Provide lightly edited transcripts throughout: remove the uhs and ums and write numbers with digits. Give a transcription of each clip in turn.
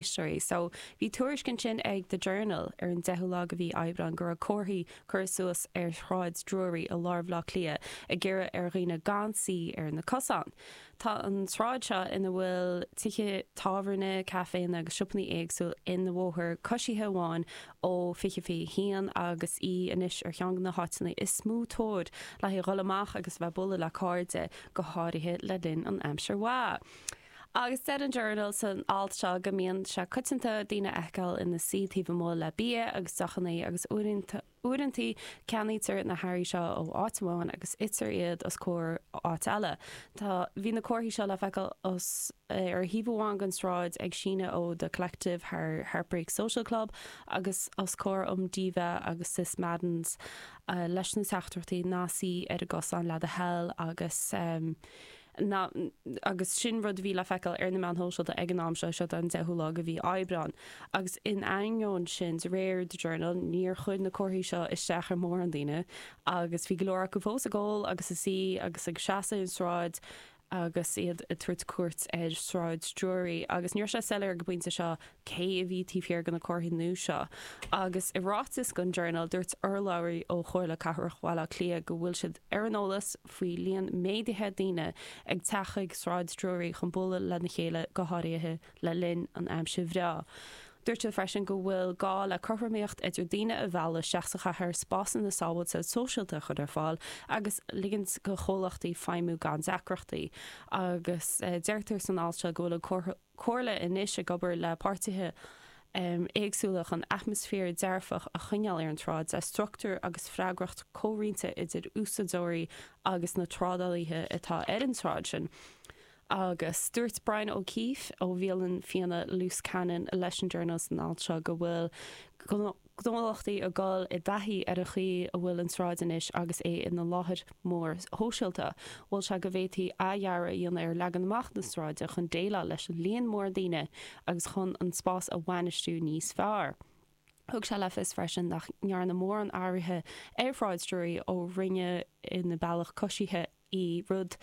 Éisteoirí. So, bhí tuairisc ansin ag The Journal ar an 10ú lá de mhí Aibreán go raibh comharthaí curtha suas ar Shráid Drury i lár Bhaile Átha Cliath ag iarraidh ar dhaoine gan suí ar na cosáin. Tá an tsráid seo ina bhfuil tithe tábhairne, caiféanna agus siopanna éagsúil ina bhóthar coisithe amháin ó 2021 agus í anois ar cheann de na háiteanna is mó tóir le haghaidh dhul amach agus a bheith ag bualadh le cairde, go háirithe le linn an aimsir mhaith. Agus deir an Journal san alt seo go mbíonn sé coitianta daoine a fheiceáil ina suí taobh amuigh le bia agus deochanna agus uaireanta ceannaítear na hearraí seo ó áit amháin agus itear iad os comhair áit eile. Tá bhí na comharthaí seo le feiceáil os ar thaobh amháin den sráid ag síneadh ó The Collective thar Heartbreak Social Club agus os comhair Um Diva agus Sis Madden's leis na teachtaireachtaí ná suí ar an gcosán le do thoil agus ná, agus sin rud a bhí le feiceáil ar na meáin shóisialta ag an am seo, seo an 10ú lá de mhí Aibreán. Agus in ainneoin sin, de réir The Journal, níor chuir na comharthaí seo isteach ar mhórán daoine agus bhí go leor acu fós ag ól agus ag suí agus ag seasamh ar an sráid agus iad ag tabhairt cuairt ar Shráid Drury. Agus ní raibh sé soiléir ag an bpointe seo cé a bhí taobh thiar de na comharthaí nua seo. Agus i ráiteas don Journal, dúirt urlabhraí ó Chomhairle Cathrach Bhaile Átha Cliath go bhfuil siad ar an eolas faoi líon méadaithe daoine ag teacht chuig Sráid Drury chun bualadh lena chéile, go háirithe le linn an aimsir bhreá. Dúirt siad freisin go bhfuil gá le cothromaíocht idir daoine a mhealladh isteach sa chathair, spásanna sábháilte sóisialta a chur ar fáil agus ligint do chomhlachtaí feidhmiú gan deacrachtaí. Agus deirtear san alt seo go bhfuil an Comhairle anois ag obair le páirtithe éagsúla chun atmaisféar dearfach a choinneáil ar an tsráid, le struchtúr agus freagracht comhroinnte idir úsáideoirí agus na trádálaithe atá ar an tsráid sin. Agus dúirt Brian O'Keefe ó bhialann fíona Loose Cannon leis an Journal san alt seo go bhfuil gnólachtaí ag dul i dtaithí ar an chaoi a bhfuil an tsráid anois agus é ina láthair mhór shóisialta. Mhol sé go bhféadfaí athdhearadh a dhéanamh ar leagan amach na sráide chun déileáil leis an líon mór daoine agus chun an spás a bhainistiú níos fearr. Thug sé le fios freisin nach ndearnadh mórán athruithe ar Shráid Drury ó rinneadh ina bealach coisithe í, rud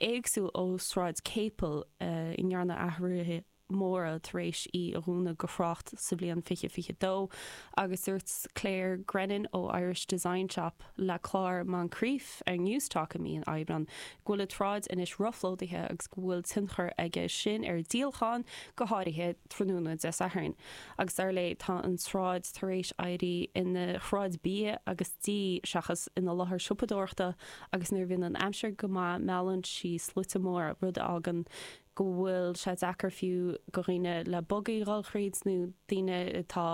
éagsúil ó Shráid Capel a ndearnadh athruithe móra tar éis í a dhúnadh do thrácht sa bhliain 2022 agus dúirt Claire Grennan ó Irish Design Shop le clár Moncrieff ar Newstalk i mí an Aibreáin go bhfuil an tsráid anois rothphlódaithe agus go bhfuil tionchar aige sin ar dhíolacháin, go háirithe tráthnóna Dé Sathairn. Agus dar léi tá an tsráid tar éis éirí ina shráid bia agus dí seachas ina láthair siopadóireachta agus nuair a bhíonn an aimsir go maith meallann sí sluaite móra, rud a fhágann go bhfuil sé deacair fiú do dhaoine le bugaí dhul thríd nó daoine atá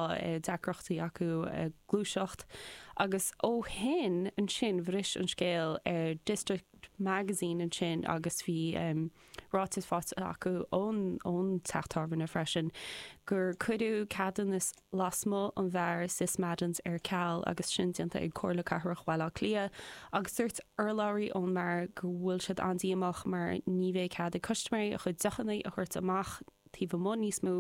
deacrachtaí acu ag gluaiseacht. Agus ó shin ansin bhris an scéal ar District Magazine ansin agus bhí ráiteas faighte acu ón ón teach tábhairne freisin gur cuireadh ceadúnas lasmuigh an bheáir Sis Madden's ar ceal agus sin déanta ag Comhairle Cathrach Bhaile Átha Cliath agus dúirt urlabhraí ón mbeár go bhfuil siad an-díomách mar ní bheidh cead ag custaiméirí a chuid deochanna a thabhairt amach taobh amuigh níos mó,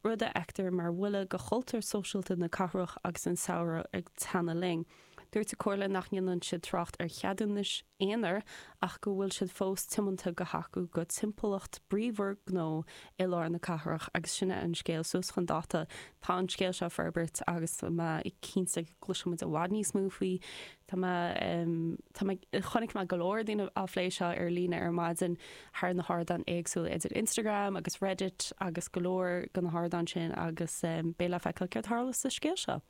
rud a fheictear mar bhuille do chultúr sóisialta na cathrach agus an samhradh ag teannadh linn. Dúirt an Comhairle nach ndéanann siad trácht ar cheadúnais aonair ach go bhfuil siad fós tiomanta go thacú go timpeallacht bríomhar gnó i lár na cathrach agus sin é an scéal suas chun dáta. Tá an scéal seo ag forbairt agus tá mé cinnte go gcloisfidh muid i bhfad níos mó faoi. Tá mé, tá mé, chonaic mé go leor daoine á phlé seo ar líne ar maidin thar na hardáin éagsúla idir Instagram agus Reddit agus go leor de na hardáin sin agus beidh le feiceáil céard a tharlós sa scéal seo.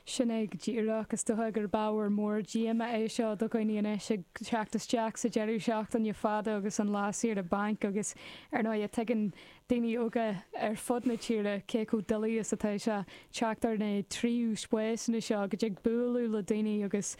Sin é go díreach. Is dócha gurb ábhar mór díomá é seo do dhaoine anois ag teacht isteach sa deireadh seachtaine fada agus an lá saoire bainc agus ar ndóigh tuigeann daoine óga ar fud na tíre cé chomh doiligh is atá sé teacht ar na tríú spásanna seo go dtig bualadh le daoine agus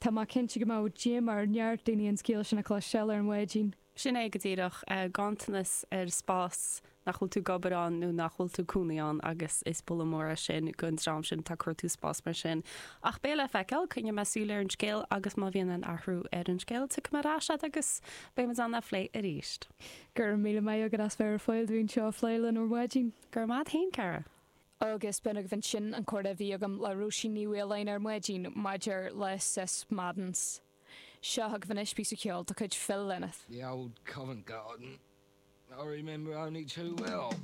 tá mé cinnte go mbeadh díomá ar neart daoine an scéal sin a chloisteáil ar maidin. Sin é go díreach. Ganntanas ar spás nach bhfuil tú ag obair ann nó nach bhfuil tú cónaí ann agus is buille mór é sin don dream sin atá ag cuartú spás mar sin. Ach beidh le feiceáil, coinneoidh mé súil ar an scéal agus má bhíonn aon athrú ar an scéal tiocfaidh mé ar ais agat agus beidh muid ann le phlé arís. Go raibh míle maith agat as bheith ar fáil dúinn seo a phlé linn ar maidin. Go raibh maith agat féin, Cara. Agus b'in agaibh ansin an comhrá a bhí agam le Róisín Ní Mhaoláin ar maidin maidir le Sis Maddens. Seo agaibh anois píosa ceoil de chuid Phil Lynott. The old Covent Garden I remember only too well.